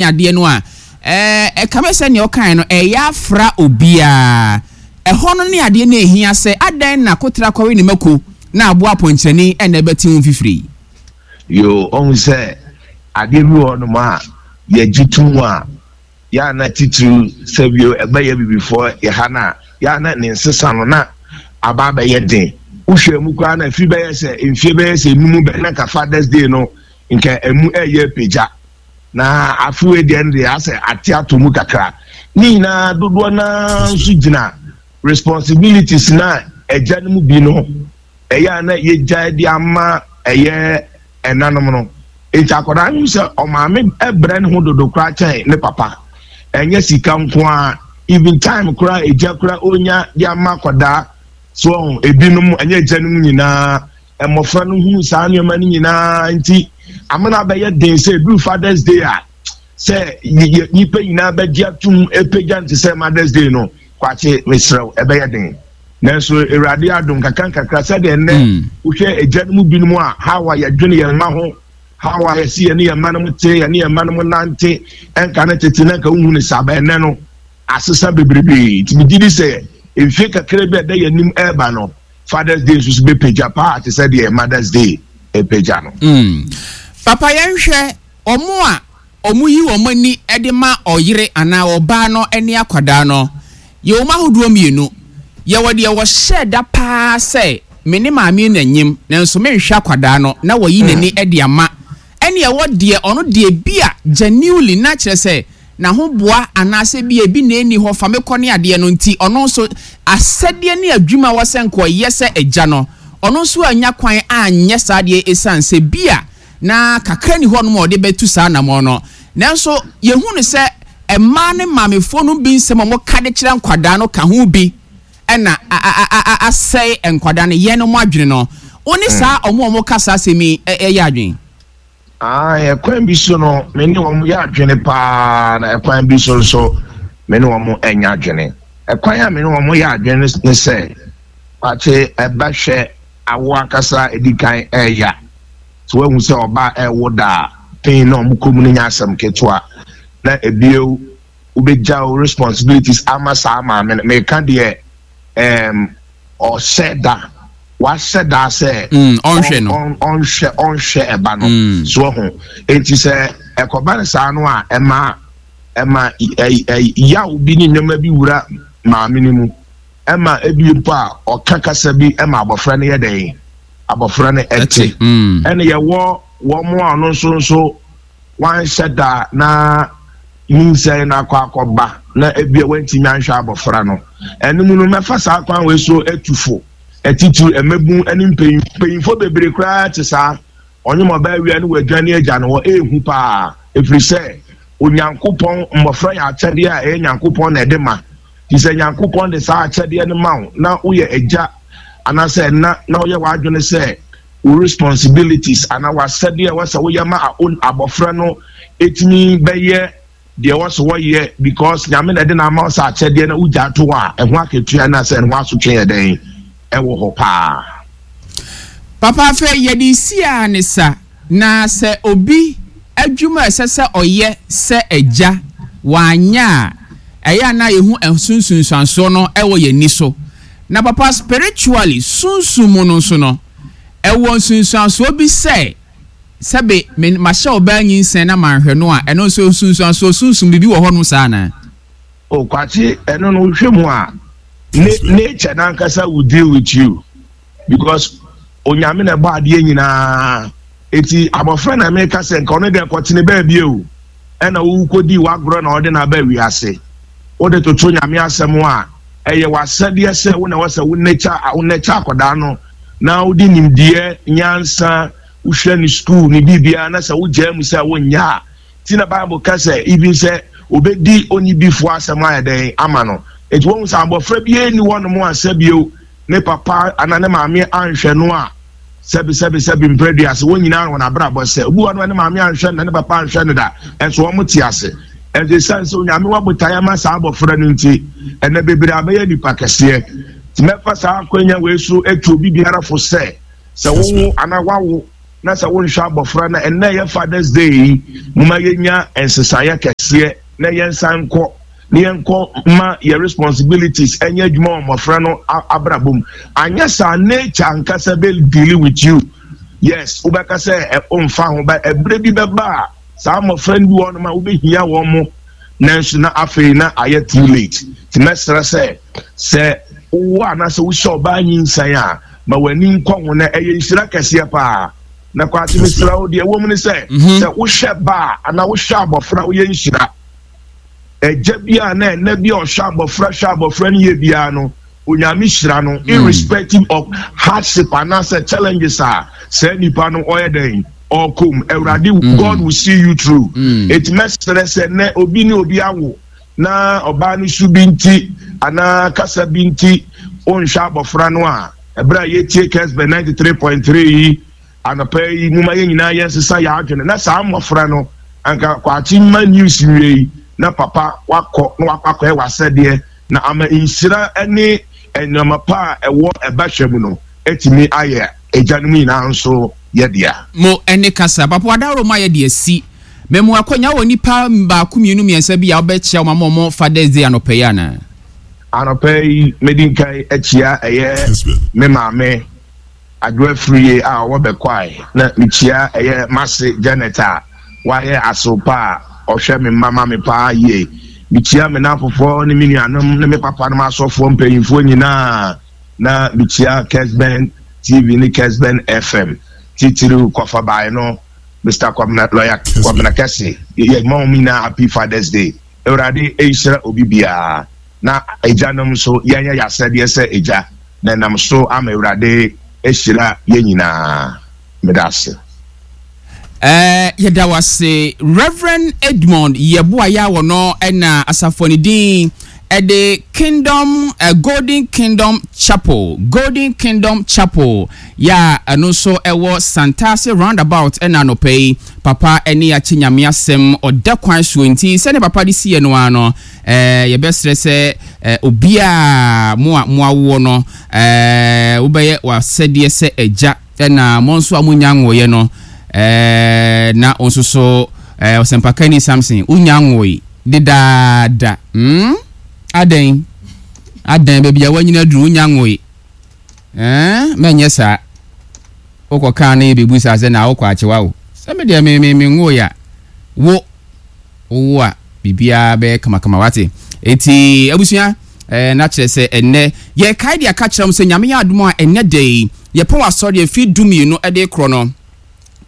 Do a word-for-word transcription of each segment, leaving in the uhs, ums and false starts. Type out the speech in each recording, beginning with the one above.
Adeɛ no a ɛka bɛ sɛ nea ɔkae no ɛyɛ afra obiara ɛhɔ no ne adeɛ no ehia sɛ adan na kotra kɔwe ne mako na aboa apɔnkyerɛni ɛna ɛbɛte ho fifiri. Yo, ɔhu sɛ adeɛ bi wɔ hɔnom a yɛgye tom a, yɛa titiriw sɛ bio ɛbɛyɛ bibifoɔ yɛha no a, yɛa na ne nsesa no na aba abɛyɛ den. Wohwɛ mu koraa na afiri bɛyɛ sɛ mfie bɛyɛ sɛ enum bɛ na nka Father's Day no nka emu ɛyɛ pagya, na afewe deɛ no deɛ asɛ ate ato mu kakra. Ne nyinaa dodoɔ naa nso gyina responsibilities na ɛgya no mu bi no ɛyɛ a na yɛgya de ama ɛyɛ ɛnanom no. Nti akwadaa no sɛ ɔmaame ɛbrɛ ne ho dodo koraa kyɛn ne papa. Ɛnyɛ sika nko a, even time koraa egya koraa onya de ama akwadaa so. Ɔho ebinom, ɛnyɛ egya no mu nyinaa, mmɔfra no hunu saa nneɛma no nyinaa, nti amena bɛyɛ den sɛ ebi Father's Day a sɛ yɛ nipa nyinaa bɛgye atum epagya nte sɛ Mother's Day no. Kwakye, mesrɛw, ɛbɛyɛ den, nanso Awurade adom kakra nkakra sɛdeɛ nnɛ Mm. wohwɛ agya no mu binom a, how a yɛdwene yɛn mma ho, how a yɛsi yɛne yɛn mma no mu te, yɛne yɛn mma no mu nante, ɛnka ne tete na nka wohu ne saa bɛn. Nnɛ no asesa bebrebee, nti megye di sɛ mfie kakra bi a ɛda yɛn anim ɛreba no, Father's Day nso so bɛpagya paa te sɛ deɛ Mother's Day ɛpagya no. Mm. Papa, yɛnhwɛ ɔmo a ɔmo yi wɔn ani de ma ɔyere anaa ɔbaa no ne akwadaa no. Yɛwɔ mu ahodoɔ mmienu. Yɛwɔ deɛ wɔhyɛ da paa sɛ me ne maame na nyim nanso menhwɛ akwadaa no na wɔyi n'ani de ama, ɛne ɛwɔ deɛ ɔno deɛ bi a genuinely na kyerɛ sɛ n'ahoboa anaasɛ bi ebi na ɛni hɔ fa me kɔ ne adeɛ no, nti ɔno nso asɛdeɛ ne adwuma a wɔsɛ nkɔyɛ sɛ agya no, ɔno nso anya kwan anyɛ saa deɛ, ɛsiane sɛ bi a na kakra ni hɔ nom a ɔde bɛtu saa anammɔn no. Nanso yɛhu no sɛ mmaa ne maamefoɔ no bi nsɛm a wɔka de kyerɛ nkwadaa no ka ho bi ɛna asɛe nkwadaa no yɛn no mo adwene no. Wo ne saa ɔmo a ɔmo ka saa asɛm yi ɛyɛ adwene? Ah, ɛkwan bi so no, me ne wɔn yɛ adwene paa, na ɛkwan bi so nso me ne wɔn ɛnyɛ adwene. Ɛkwan a me ne wɔn yɛ adwene ne sɛ, kwakye, ɛbɛhwɛ awo ankasa edi kan ɛɛya so, wɔahu sɛ ɔbaa ɛɛwo daa pain na ɔmo kɔn mu no nyɛ asɛm ketewa, na ebio wobɛgya wo responsibilities ama saa maame no. Meka deɛ ɛɛm ɔhyɛ da, wahyɛ da sɛ ɔnhwɛ no. ɔnhwɛ ɔnhwɛ ɛba no so ho. Eti sɛ ɛkɔba no saa no a, ɛma ɛma ɛ yaw bi ne nneɛma bi wura maame no mu, ɛma ebi mpo a ɔka kasa bi ɛma abɔfra no yɛ dɛn, abɔfra no ɛte. Ɛna yɛwɔ wɔn a ɔno nso nso wanhyɛ da na nyinsɛn na akɔ akɔba na ebi a wantumi anhwɛ abɔfra no. Ɛnum no, mɛfa saa kwan wei so etu fo ɛtitiri ɛmɛbun ɛne mpanyin mpanyinfoɔ bebree koraa te saa. Ɔnyɛ ɔbaa wia ne wadwane agya no hɔ, ehu paa, efiri sɛ Onyankopɔn mmɔfra yɛ akyɛdeɛ a ɛyɛ Nyankopɔn na ɛde ma. Ti sɛ Nyankopɔn de saa akyɛdeɛ no ma wo na woyɛ agya anaasɛ ɛna na woyɛ w'adwene sɛ wo responsibilities anaa w'asɛdeɛ a wɔsɛ woyɛ ma abɔfra no etumi bɛyɛ deɛ wɔsɛ wɔyɛ, because Nyame na ɛde na ama wo sɛ akyɛdeɛ na wogya ato hɔ a, ɛho akatua na sɛ ɛho asotwe yɛ dɛn ɛwɔ hɔ paa. Papa, afei yɛde si a ne sa na sɛ obi adwuma a ɛsɛ sɛ ɔyɛ sɛ agya wanyɛ a, ɛyɛ a na yɛhu nsunsunsuansoɔ no ɛwɔ yɛn ani so. Na papa, spiritually, sunsun mu no nso no, ɛwɔ nsunsuansoɔ bi sɛ sɛbe me mahyɛ ɔbaa nyinsɛn na manhwɛ no a, ɛno nso nsunsuansoɔ sunsum biribi wɔ hɔnom saa na? O Kwakye, ɛno no wohwɛ mu a, nature nankasa will deal with you, because Onyame na ɛbɔ adeɛ nyinaa. Eti abɔfra na meka sɛ nka ɔno deɛ kɔtene baabi o, ɛna wokɔdi wagorɔ na ɔde n'aba wiase, wode toto Nyame asɛm a, ɛyɛ w'asɛdeɛ sɛ wo na wɔ sɛ wo nature wo nature akɔdaa no na wode nimdeɛ, nyansa, wohwɛ ne school ne biribiara, na sɛ wogyaa mu sɛ wonyɛ a, ti na Bible ka sɛ even sɛ obɛdi onibifoɔ asɛm ayɛ dɛn ama no. Eti wɔn sɛ abɔfra bi ni hɔnom a sɛbio ne papa anaa ne maame anhwɛ no a, sɛbi sɛbi sɛbi mpere ase, wɔn nyinaa wɔn abrabɔ sɛ obi wɔ no ne maame anhwɛ no na ne papa anhwɛ no da, ɛnso wɔn te ase. Ɛnso esan sɛ Onyame wɔ botaeɛ ama saa abɔfra no nti, ɛnɛ bebree abɛyɛ nipa kɛseɛ. Tí mɛfa saa akɔnya wei so etu obi biara fo sɛ sɛ wowo anaa wawo Na sɛ wonhwɛ abɔfra no, ɛnnɛ yɛ Father's Day yi, moma yɛnya nsesaeɛ kɛseɛ na yɛnsan nkɔ na yɛnkɔ ma yɛ responsibilities ɛnyɛ adwuma wɔ mmɔfra no abrabɔ mu. Anyɛ saa, nature ankasa bɛ deal with you. Yes, wobɛka sɛ ɔmfa ho ba, ɛberɛ bi bɛba a saa mmɔfra no bi wɔ nom a wobɛhia wɔn mo, nanso na afei na ayɛ too late. Nti mɛsrɛ sɛ sɛ wowɔ anaasɛ wohyɛ ɔbaa nyinsan a, ma w'ani nkɔ ho na ɛyɛ nhyira kɛseɛ paa. Na Kwakye, mesrɛ wo, deɛ ɛwɔ mu ne sɛ, mhm. sɛ wohwɛ ba a anaa wohwɛ abɔfra, woyɛ nhyira. Ɛgya bi a na ɛnɛ bi a ɔhwɛ abɔfra, hwɛ abɔfra no yie biara no, Onyame hyira no mm. irrespective of hardship anaasɛ challenges a saa nipa no ɔyɛ dɛn ɔkɔm, Awurade mm. God will see you through mm. Eti mɛsrɛ sɛ nɛ obi ne obi awo na ɔbaa no su bi nti anaa kasa bi nti ɔnhwɛ abɔfra no a, ɛberɛ a yɛtie Kɛsbɛ ninety three point three yi anɔpa yi, moma yɛn nyinaa yɛnsesa yɛn adwene na saa mmɔfra no anka Kwakye mma news wie yi na papa wakɔ na wakɔ akɔyɛ w'asɛdeɛ na ama nhyira ne nneɛma pa a ɛwɔ ɛba hwɛ mu no atumi ayɛ agyanom nyinaa nso yɛ dea. Mo ne kasa. Papa wadaworo mu ayɛ de asi. Memu akwanya wɔ nipa baako, mmienu, mmiɛnsa bi a wobɛkyia wɔn ama wɔn Father's Day anɔpa yi anaa? Anɔpa yi, medi nkan akyia ɛyɛ me maame Adwoa Firie a ɔwɔ Bɛkwae, na mekyia ɛyɛ m'ase Janet a wayɛ asew pa a ɔhwɛ me mma ma me paa yie. Mekyia me nnamfofoɔ ne me nuanom ne me papanom asɔfoɔ mpanyinfoɔ nyinaa, na mekyia Kesben T V ne Kesben F M, titiriw kɔfa no Mister Kwabena, Lawyer Kwabena Kɛse. Yɛma wɔn nyinaa happy Father's Day. Awurade nhyira obi biara, na agyanom nso yɛnyɛ yɛasɛdeɛ sɛ agya na ɛnam so ama Awurade ahyira yɛn nyinaa. Meda ase. Uh, yɛda wase, Reverend Edmond Yɛboa yɛ a wɔ ɛna asafo ne din ɛde Kingdom uh, Golden Kingdom Chapel, Golden Kingdom Chapel yɛ a ɛno nso ɛwɔ Santase Roundabout. Ɛna anɔpa yi papa ɛne akyi Nyame asɛm ɔda kwan soɔ, nti sɛne papa de siiɛ no ara no, ɛɛ yɛbɛsrɛ sɛ ɛɛ obiara mo a mo awoɔ no, ɛɛ wobɛyɛ w'asɛdeɛ sɛ agya, ɛna mo nso a monya nwoeɛ no, ɛɛ na wo nso so ɛɛ ɔsɛmpakani Samson, wonya nwoe dedaada hmm adɛn adɛn baabi a wanyina duru, wonya nwoe ɛɛ mɛnyɛ saa. Wokɔ kaa no yɛbɛbu saa sɛ na wokɔ akyewa wo sɛ me deɛ me me me nwoe a, wo wowo a, biribiara bɛyɛ kamakama, wate? Eti abusua, ɛɛ na kyerɛ sɛ ɛnnɛ yɛkae de aka kyerɛ mo sɛ Nyame yɛ adom a, ɛnnɛ da yi yɛpɔn asɔre afi du mmienu ɛde korɔ no,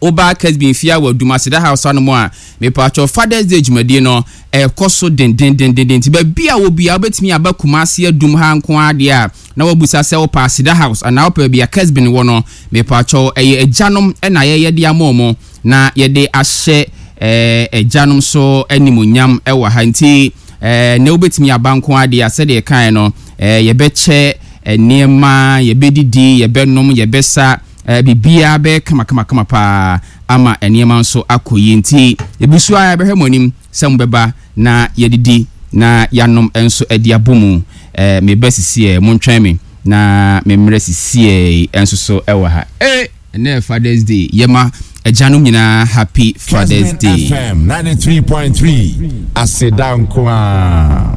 woba Kesben fia wɔ Dumaseda House anom a, mepatwɔ, Fathers Day dwumadie no ɛkɔ so dendendendenden. Nti baabi a wɔ bia wobɛtumi aba Kumase Adum ha nko adeɛ a, na wabusa sɛ wopɛ Aseda House anaa wopɛ baabi a Kesben wɔ no. Mepatwɔ, ɛyɛ agyanom ɛna yɛyɛ de ama ɔmo na yɛde ahyɛ ɛɛ agyanom so animonyam ɛwɔ ha. Nti ɛɛ na wobɛtumi aba nko adeɛ a, sɛdeɛ ɛkae no, ɛɛ yɛbɛkyɛ nneɛma, yɛbɛdidi, yɛbɛnom, yɛbɛsa, ɛɛ biribiara bɛyɛ kamakamakama paa ama nneɛma nso akɔ yie. Nti ebi so a, yɛbɛhwɛ mo anim sɛ mo bɛba na yɛdidi na yɛanom nso de abɔ mu. ɛɛ meba sisi mo ntwɛn me na me mmerɛ sisi nso so ɛwɔ ha. Ee, ɛnɛ Fathers Day, yɛma agyanom nyinaa happy Fathers Day. F M ninety-three point three, aseda nko a.